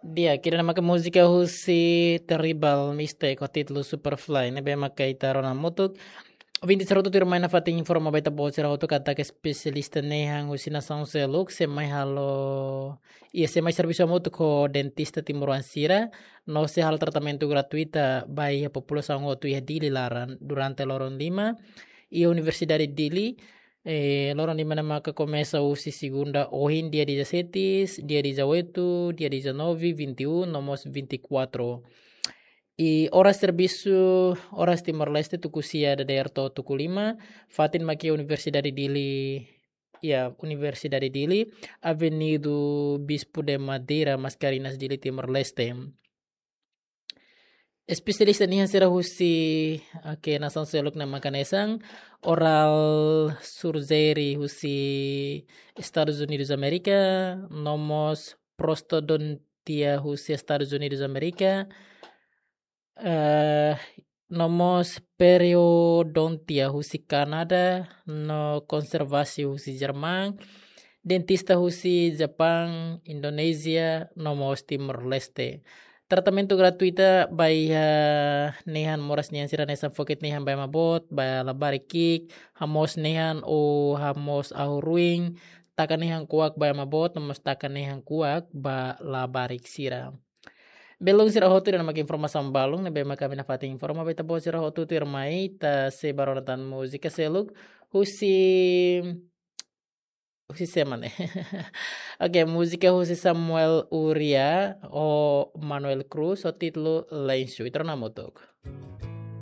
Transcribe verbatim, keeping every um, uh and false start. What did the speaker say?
Di'ak, ida-ne'e maka múzika husi Terrible Mistake ho títulu Superfly, ne'ebé maka ita rona hamutuk. Ouvinte sira hotu tuirmai, nafatin informa ba ita-boot sira hotu katak espesialista nehan husi nasaun seluk sei mai halo, iha, sei mai servisu hamutuk ho dentista timoroan sira, no sei halo tratamentu gratuita ba iha populasaun hotu iha Dili laran durante loron lima iha Universidade Dili. Eh, loron lima ne'e maka komesa husi segunda ohin, dia dezassete, dia dezoito, dia dezanove, vinte e um, no mós vinte e quatro. I oras servisu, oras Timor-Leste, tuku sia dadeer to'o tuku lima, fatin mak iha Universidade Dili, iha Universidade Dili, Avenida Bispo de Madeira, Mascarenhas, Dili, Timor-Leste. Espesialista nian sira husi, oke, nasaun seluk ne'e maka hanesan oral surgery husi Estados Unidos Amérika, no mós prostodontia husi Estados Unidos Amérika, eh, no mós periodontia husi Kanadá, no konservasi husi Jerman, dentista husi Japang, Indonézia, no mós Timor-Leste. Tratamentu gratuita ba iha nehan moras nian sira hanesan fokit nehan ba ema boot, ba labarik ki'ik, hamoos nehan ou hamoos ahu ruin, taka nehan kuak ba ema boot, no mós taka nehan kuak ba labarik sira. Belun sira hotu, ida-ne'e maka informasaun balun ne'ebé maka ami nafatin informa ba ita-boot sira hotu, tuirmai ita sei bá rona tan múzika seluk husi, husi sé mak ne'e? Oke, múzika husi Samuel Uria ho Manuel Cruz ho títulu Lensu. Ita rona hamutuk.